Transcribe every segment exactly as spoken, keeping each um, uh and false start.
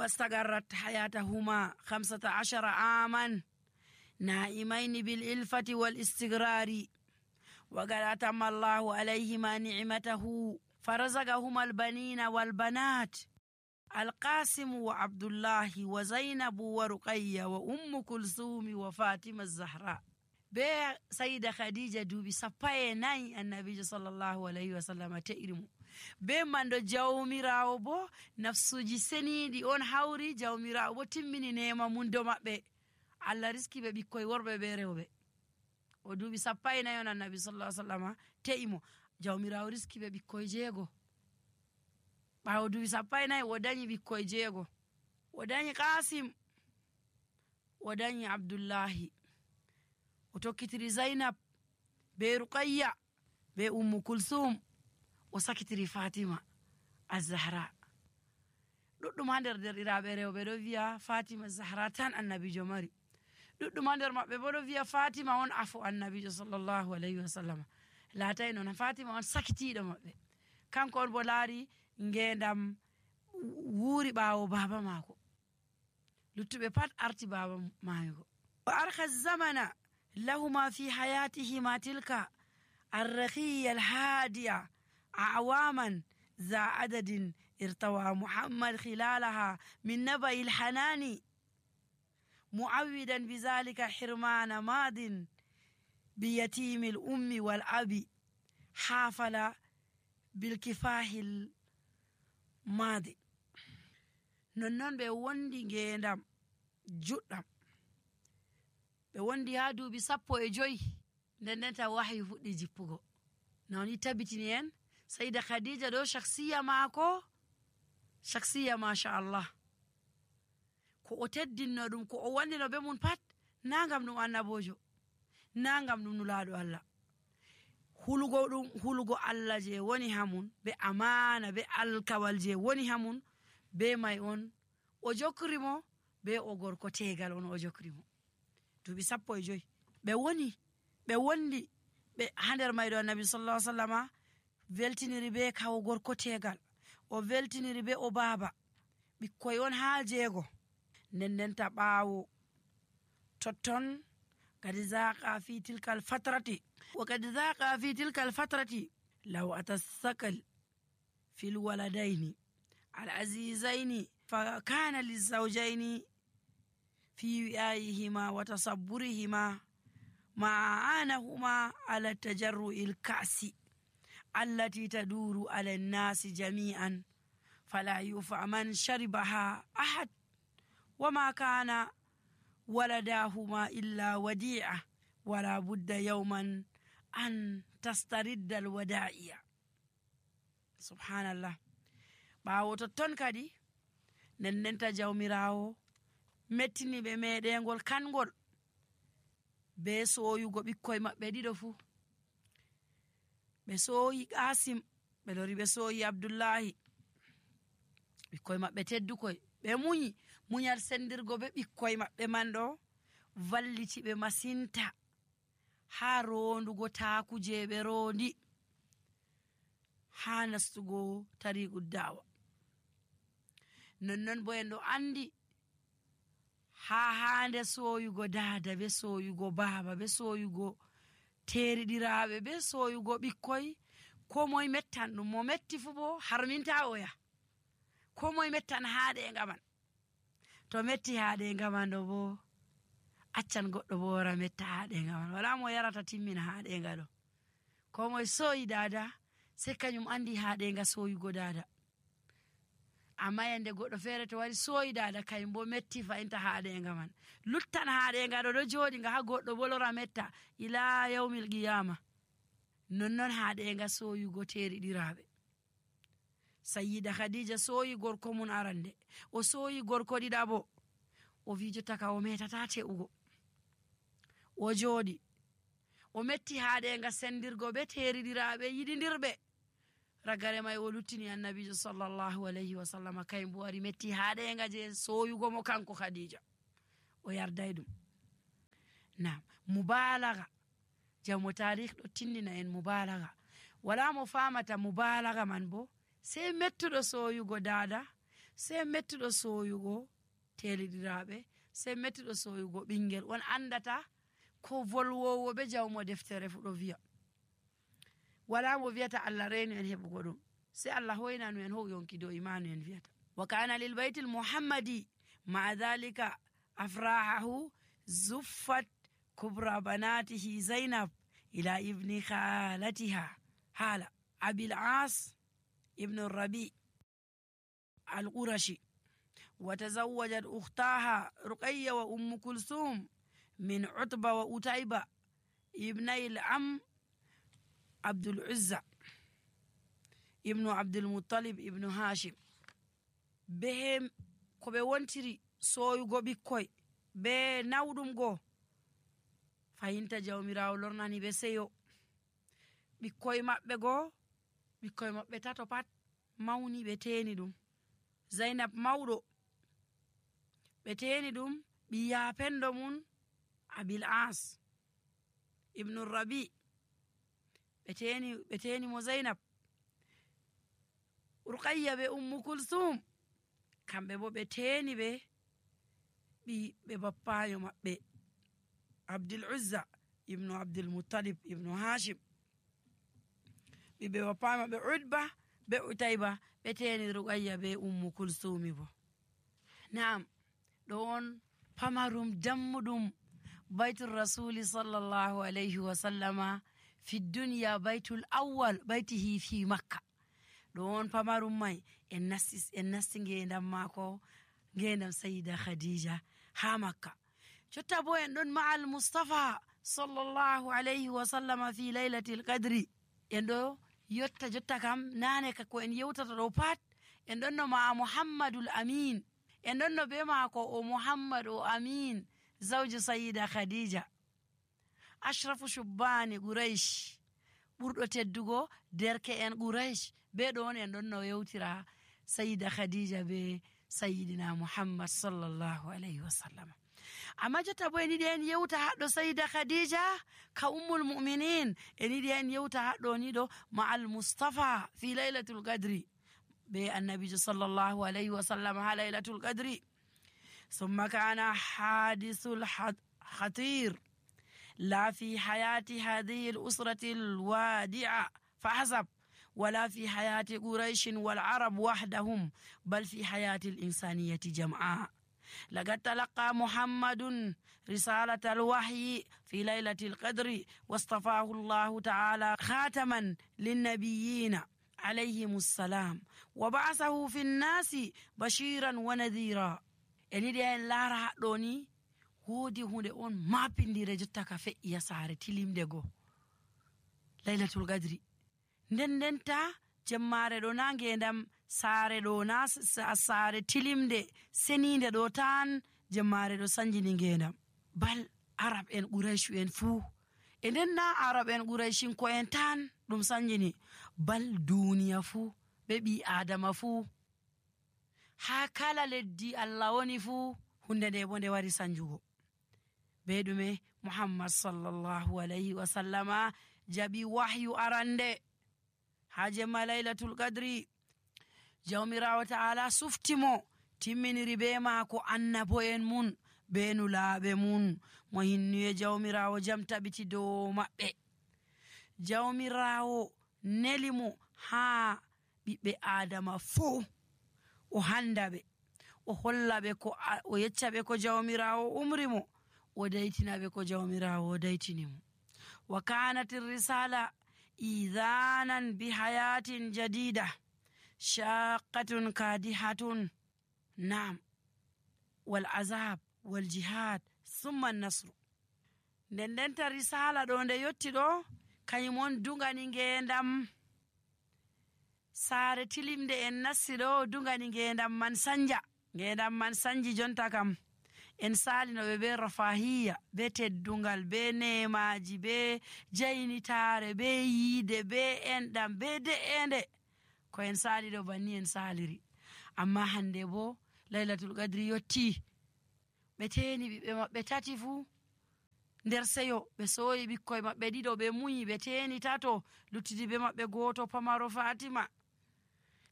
واستقرت حياتهما خمسة عشر عاما نائمين بالإلفة والاستقرار، وقد أتم الله عليهما نعمته فرزقهما البنين والبنات القاسم وعبد الله وزينب ورقية وأم كلثوم وفاطمة الزهراء. be sayida khadija duubi sappaye nayi annabijo sallallahu alayhi wa sallam te'irimo be mando jawmirawo bo nafsuji senidi on hawri jawmirawo bo timmini nema mundo mabbe Allah riski be bikkoy worbe be rewbe o duubi sappaye nayi on annabi sallallahu alayhi wa sallam te'imo jawmirawo riski be bikkoy jeego bawo duubi sappaye nayi o dañi bikkoy jeego o dañi qasim o dañi abdullahi o tokkitiri Zainab be Ruqayya be Ummu Kulsum o sakitiri Fatima az-Zahra. Duddum hander derdiraabe rewbe do wiya Fatima az-Zahra tan annabijo mari. Duddum hander mabbe bo do wiya Fatima on afu annabijo sallallahu alayhi wa sallam. Laatay non Fatima on sakitido mabbe. Kanko on bo laari ngendam wuuri baawo baba mako. Luttube pat arti baba maayo. Wa arkha zamana لهما في حياتهما تلك الرخية الهادية أعواما ذا عدد ارتوى محمد خلالها من نبأ الحنان معودا بذلك حرمان ماض بيتيم الأم والأب حافل بالكفاح الماضي ننن بوندي جندم جدام be wondi ha duubi sappo e joyi ndendenta wahyi fuddi jippugo noni tabitini en sayida khadija do shakhsiya maako shakhsiya ma sha Allah ko o teddinno dum ko o wandino be mun pat nangam dum annabojo nangam dum nulaado Allah hulugo dum hulugo Allah je woni hamun be amana be alkawal je woni hamun be may on o jokrimo be o gorko tegal on o jokrimo duubi sappo e joyi be woni be wondi be hander maydo annabi sallallahu alaihi wasallam veltiniri be kawo gorko tegal o veltiniri be o baba bikkoy on ha jeego nendenta baawo totton kadi zaqa fi tilka al fatrati wa kad zaqa fi tilka al fatrati law atasakal fi al waladaini al azizaini fa kana lizawjaini في وعائهما وتصبرهما مع عانهما على التجرؤ الكأس التي تدور على الناس جميعا فلا يفع من شربها أحد وما كان ولداهما إلا وديعة ولا بد يوما أن تسترد الودائع. سبحان الله. باو تتون كدي نننتا جاوميراو mettini be medengol kangol be soyugo bikkoy mabbe dido fu be soyi Qasim be lori be soyi Abdullahi bikkoy mabbe teddukoy be munyi munyal sendirgo be bikkoy mabbe mando valliti be masinta ha rondugo taakuje be rondi ha nastugo tariqud dawa nonnon bo endo andi ha hande soyugo dada be soyugo baba be soyugo teridiraabe be soyugo bikkoy ko moy mettan dum mo metti fu bo harminta oya ko moy mettan haade ngaman to metti haade ngaman do bo accan goddo bo wara metta haade ngaman wala mo yarata timmina haade ngado ko moy soyi dada se kanyum andi haade nga soyugo dada amma yande goddo fere to wari soyi dada kayimbo metti fa inta haade ngaman luttan haade ngado do jodi nga ha goddo bolora metta ila yawmil qiyama nonnon haade nga soyugo teridiraabe. Sayyida Khadija soyi gorko mun arande o soyi gorko didabo o vijo taka o metata teugo o jodi o metti haade nga sendirgo be teridiraabe yididirbe ragare may o luttini annabi sallallahu alayhi wa sallam kayimbo wari metti haade nga je soyugo mo kanko Khadija o yarday dum. Naam, mubalagha jamu tarikh do tindina en mubalagha wala mo famata mubalagha man bo sai mettudo soyugo dada sey mettuɗo soyugo teliɗiraɓe, sey mettuɗo soyugo ɓingel on andata ko volwowo be jawmo deftere fu ɗo wiya. Wala mo wiyata Allah reni en heɓugo ɗum, sey Allah hoynanu en how yonki dow imanu en wiyata. Wa kana lil baitil muhammadi ma dhalika afrahahu zuffat kubra banatihi zainab ila ibni khalatiha hala abil as ibn rabi al-qurashi wa tazawwajat ukhtaha ruqayya wa umm kulsum min utba wa utayba ibnay al-am abdul uzza ibnu abdul muttalib ibnu hashim. Be ko ɓe wontiri soyugo ɓikkoy be nawɗum go fayinta jawmirawo lornani ɓe seyo. Ɓikkoy maɓɓe go ɓikkoy maɓɓe tato pat mawni ɓe teni ɗum. Zainab mawɗo ɓe teni ɗum ɓiya pendo mun abil as ibnu rabi ɓe teni ɓe teni mo Zainab. Ruqayya be ummu kulsum kamɓe bo ɓe teni ɓe ɓi ɓe bappayo maɓɓe abdul uzza ibnu abdul muttalib ibnu hashim. ɓiɓe bappayo maɓɓe utba be utayba ɓe teni ruqayya be ummu kulsumi bo. Naam, ɗo on pamarum dammuɗum baitul rasuli sallallahu alayhi wa sallama fi duniya baitul awwal baitihi fi makka. ɗo on pamarum mai en nasti en nasti ngendam mako, ngendam sayyida khadija ha makka. Jotta bo en ɗon ma'al mustafa sallallahu alayhi wa sallama fi laylatil qadri. En ɗo yotta jotta kam nane ka ko en yewtata ɗo pat en ɗon no ma muhammadul amin, en ɗon no be mako o muhammad o amin zawju sayyida khadija ashrafu shubbani quraish, ɓurɗo teddugo derke en quraish. Be ɗon en ɗon no yewtira sayyida khadija be sayyidina muhammad sallallahu alayhi wa sallam. Amma jotta bo en yiɗi en yewta haɗɗo sayyida khadija ka ummul mu'minin, en yiɗi en yewta haɗɗo ni ɗo ma'al mustafa fi laylatul qadri be annabijo sallallahu alayhi wa sallam ha laylatul qadri. ثم كان حادث الخطير لا في حياة هذه الأسرة الوادعة فحسب ولا في حياة قريش والعرب وحدهم بل في حياة الإنسانية جمعاء. لقد تلقى محمد رسالة الوحي في ليلة القدر واصطفاه الله تعالى خاتما للنبيين عليهم السلام وبعثه في الناس بشيرا ونذيرا. eniɗi en laara haɗɗo ni woodi hunde on mapindire jotta ka fe'iya saare tilimde go laylatul qadri. nden ndenta jemmare ɗo na ngendam saare ɗo na saare tilimde seninde ɗo tan jemmare ɗo sanjini ngendam, bal arab en quraishu en fuu. e nden na arab en quraishin ko en tan ɗum sanjini, bal duniya fuu ɓe ɓi adama fuu ha kala leddi Allah woni fuu hunde nde bo nde wari sanjugo. Be ɗume muhammad sallallahu alayhi wa sallama jaɓi wahyu arande ha jemma laylatul qadri. jawmirawo ta'ala suftimo timminiri be maako annabo en mun be nulaaɓe mun mo hinnuye jawmirawo jam tabiti dow maɓɓe. jawmirawo nelimo ha ɓiɓɓe adama fuu o handa ɓe, o holla ɓe ko o yecca ɓe ko jawmirawo umri mo, o daytina ɓe ko jawmirawo o daytini mo. wa kanat risala idhanan bi hayatin jadida shaqqatun kadihatun nam wal azab wal jihad thumma an-nasr. nden ndenta risala ɗo nde yotti ɗo kañum on dugani ngendam saare tilimde en nassi ɗo, dugani ngendam man sanja. ngendam man sanji jonta kam en salinoɓe be rafahiya, be teddungal, be nemaji, be jaynitare, be yiide, be enɗam, be de'ende ko en sali ɗo banni en saliri. amma hande bo laylatul qadri yotti ɓe teni ɓiɓɓe maɓɓe tati fuu nder seyo, ɓe soyi ɓikkoye maɓɓe ɗiɗo ɓe muyi, ɓe teni tato luttidi be maɓɓe goto pamaro fatima.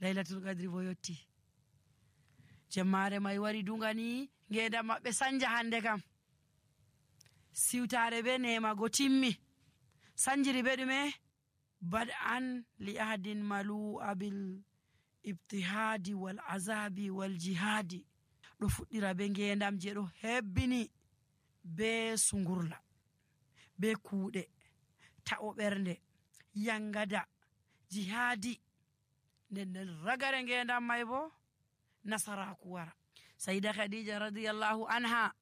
laylatul qadri bo yotti jemmare may wari dungani ngeendam maɓɓe sanja hande kam siwtare be nema go timmi sanjiri be ɗume bad'an li ahadin malu abil ibtihadi wal azabi wal jihadi ɗo fuɗɗira be ngeendam je ɗo hebbini be sungurla be kuuɗe ta'o ɓernde yangada jihadi nden nden ragare ngeendam may bo nasaraku wara. Sayyida Khadija radiyallahu anha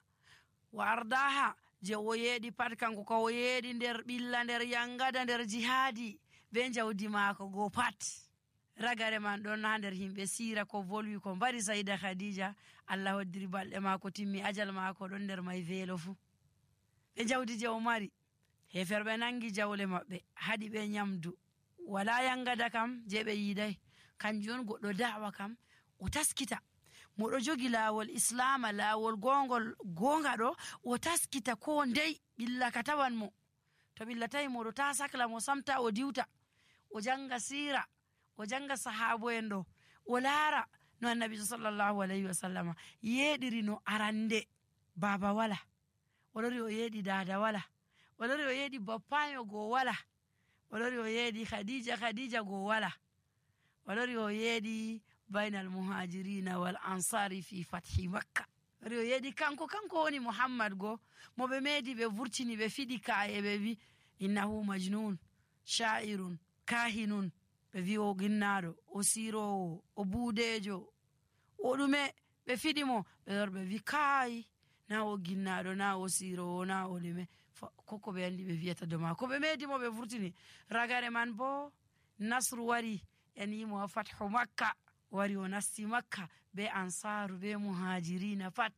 wa ardaha je o yeeɗi pat kanko ka o yeeɗi nder ɓilla nder yangada nder jihadi be jawdi maako go pat ragare man ɗon ha nder himɓe sira ko volwi ko mbari Sayyida Khadija Allah hoddiri balɗe maako timmi ajal maako ɗon nder may velo fu be jawdi je o mari heferɓe nangi jawle maɓɓe haɗi ɓe nyamdu wala yangada kam je ɓe yiday kanjum on goɗɗo da'wa kam o taskita moɗo jogi laawol islama laawol gongol gonga ɗo o taskita ko ndey ɓilla ka tawan mo to ɓilla tawi moɗo ta sakla mo samta o diwta o janga sira o janga sahabo en ɗo o laara no annabi sallallahu alayhi wa sallama yeɗiri no arande baba wala o lori o yeeɗi dada wala o lori o yeeɗi bappayo go wala o lori o yeeɗi khadija khadija go wala o lori o yeeɗi bainal muhajirina wal ansari fi fathi makka lori o yeeɗi kanko kanko woni muhammad go mo ɓe meedi ɓe vurtini ɓe fiɗi ka'e ɓe wi innahu majnun sha'irun kahinun ɓe wi o ginnaɗo o sirowo o buudejo o ɗume ɓe fiɗi mo ɓe lor ɓe wi kai na o ginnaɗo na o sirowo na o ɗume koko ɓe andi ɓe wiyata do ma ko ɓe meedi mo ɓe vurtini ragare man bo nasru wari en yimo fathu makka wari o nasti makka be ansaru be muhajirina pat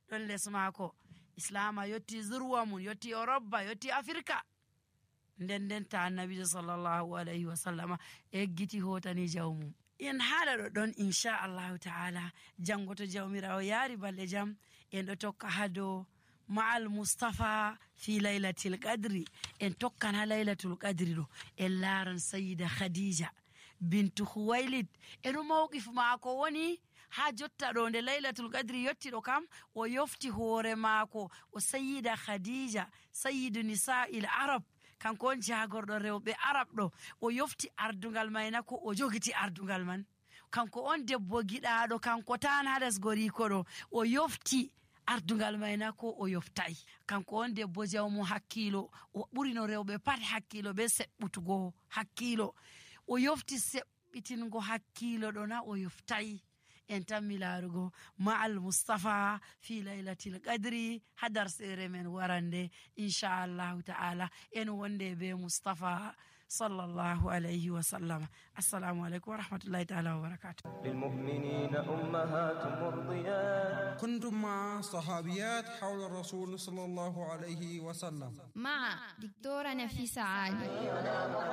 ɗon les maako islama yotti zurwa mum yotti Europe yotti Afrika nden nden ta annabijo sallallahu alayhi wa sallama eggiti hotani jawmum en haala ɗo ɗon inchallahu ta'ala jango to jawmirawo yaari balɗe jam en ɗo tokka hado ma'al mustafa fi laylatil qadri en tokkan ha laylatul qadri ɗo en laaran sayyida khadija bintu Khuwailid eno mawqif maako woni ha jotta ɗo nde laylatul qadri yotti ɗo kam o yofti hoore maako o sayyida khadija sayyidu nisa'il arab kanko on jagorɗo rewɓe arab ɗo o yofti ardungal mayna ko o jogiti ardungal man kanko on debbo giɗaɗo kanko tan ha lesgoriko ɗo o yofti ardungal mayna ko o yoftay kanko on debbo jawmu hakkilo o ɓurino rewɓe pat hakkilo be seɓɓutugo hakkilo o yofti seɓɓitingo hakkilo ɗo na o yoftay en tammi laarugo ma'al mustafa fi laylatil qadri hadar sere men warande inchallahu ta'ala en wonde be mustafa sallallahu alayhi wa sallam. Assalamu alaikum wa rahmatullahi ta'ala wa barakatuh. للمؤمنين أمهات مرضيات. كنتم مع صحابيات حول الرسول صلى الله عليه وسلم مع دكتورة نفيسة عالي.